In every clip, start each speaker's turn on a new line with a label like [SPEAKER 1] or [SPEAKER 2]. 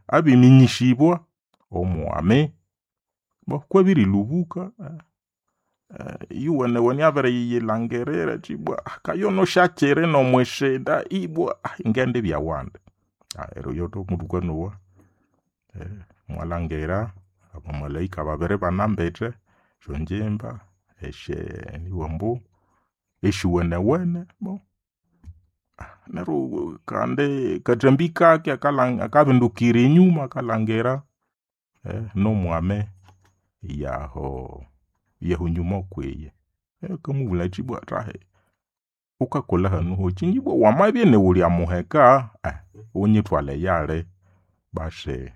[SPEAKER 1] Abiminyĩsĩbwa omwami bo kwabĩrĩlũbũka ĩyowene-wene abiriyilangirira athi ibwa kayono syakiri n'omwisinda ibwa ngendibya wandi. Neryo oyo muthukanowa mwalhangira abamalaika babiri ibanambite esyongimba esye nibughambu ambu esyuwenewene neryo kandi kathambi kake akabindukira enyuma akalhangira nomwami yaho yahu nyuma kwiye. Akamubulhaya athi ibwa thahi wukakolha hanu hokyi ibwa wamabya iniwulya muheka wunyithwale eyali basi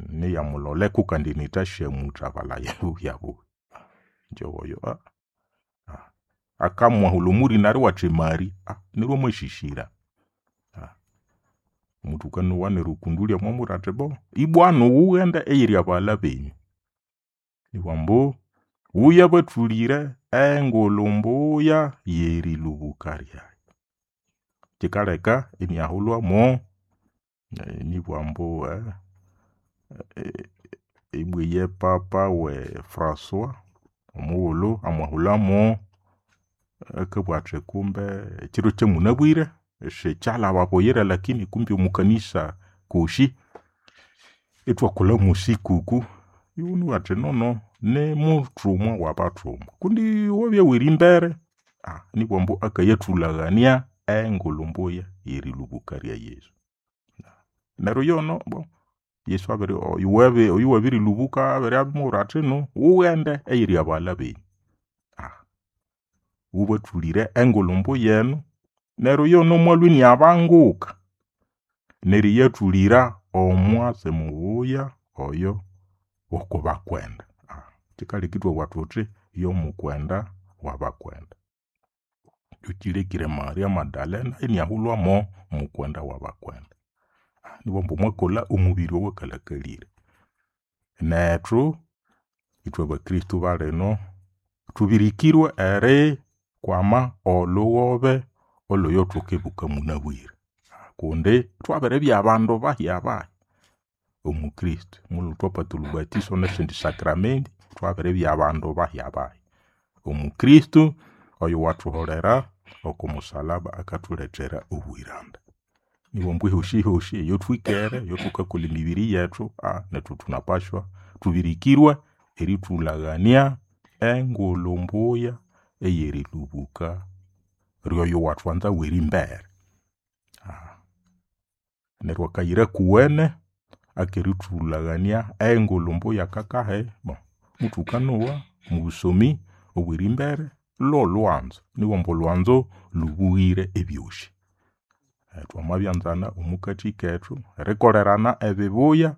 [SPEAKER 1] niyamuloleko kandi inithasyamuthabalhaya buhyabuhya. Ingye oyo akamwahulha omwirina riwe athi Maria neryo amasisira. Muthukanowa neryo Kundulyo amamubwira athi bo ibwanu ghughende eyiri abaghalha benyu nibughambu ambu ghuyabathulire engulhu mbuya yerilhubuka lyayi. Kyikaleka iniahulhwamo nibugha ambu ibwa iye papa we Francois omughulhu amwahulhamo akabugha athi kumbe ekyiro kyamunabwire sikyalhaba buyira lakini kumbe omwakanisa koshi ithwakolha mwesikuku inabugha athi nono nimuthumwa wabathumwa kundi wabya werimbere nibugha ambu akayathulhaghania engulhu mbuya yerilhubuka rya Yesu. Neryo yono bo Yesu abiri oyuwabirilhubuka abiribya athi inu ghughende eyiri abaghalha benyu ghubathulire engulhu mbuya enu. Neryo yono mwalhwa iniabanguka neriyathulira omwatsi mubuya oyo wokubakwenda. Kyikaleka ithwabugha thuthi yomukwenda wabakwenda. Kyokyilekire Maria Magdalena iniahulhwamo mukwenda wabakwenda. Nibughambu mwakolha omubiri owakalhakalire. Nethu ithwe bakristo balino thubirikirwe erikwama olhughobe olhoyothukibuka munabwire kundi thwabiribya bandu bahyabahya omo Kristo. Omughulhu thwapata olhubatĩso nesindi sacrament, thwabiribya bandu bahyabahya omo Kristo oyuwathuholera oko musalaba akathulethera obuyiranda. Nibughambu ehosihosi eyathwikere, eyathukakolha emibiri yethu nethu thunapashwa thubirikirwe erithulhaghania engulhu mbuya eyerilhubuka ryoyuwathwanza werimbere. Neryo akayira kuwene akerithulhaghania engulhu mbuya kakahi? Muthukanowa omwabusomi obwerimbere lholhwanzo nibughambu olhwanzo lhubughire ebyosi. Thwamabyanzana omukathi kethu, erikolerana ebibuya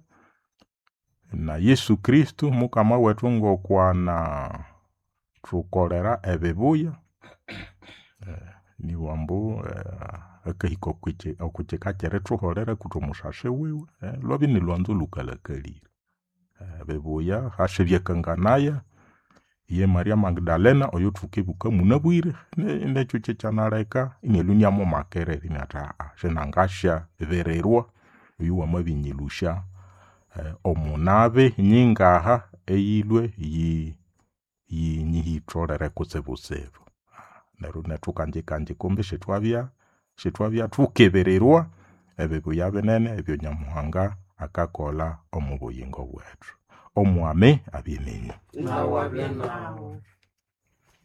[SPEAKER 1] na Yesu Kristo mukama wethu ngokwanathukolera ebibuya nibughambu akahika okwakyika kyerithuholera akutha omusasi wiwe lwabya inilhwanzo olhukalhakalire. Ebibuya hasi ebyakanganaya ye Maria Magdalena oyuthukibuka munabwire nekyo kyekyanaleka inalhwa inamumakirira inabuwa athi sinangasyabirirwa oyuwamabinyilhusya omunabi nyingaha eyilhwe yi- yinyihitholere kutsibutsibu. Neryo nethu kangikangi kumbi isithwabya isithwabya thukibirirwa ebibuya binene ebya Nyamuhanga akakolha omobuyingo bwethu. Omwami abye nenyu.
[SPEAKER 2] Nawu abye nawu.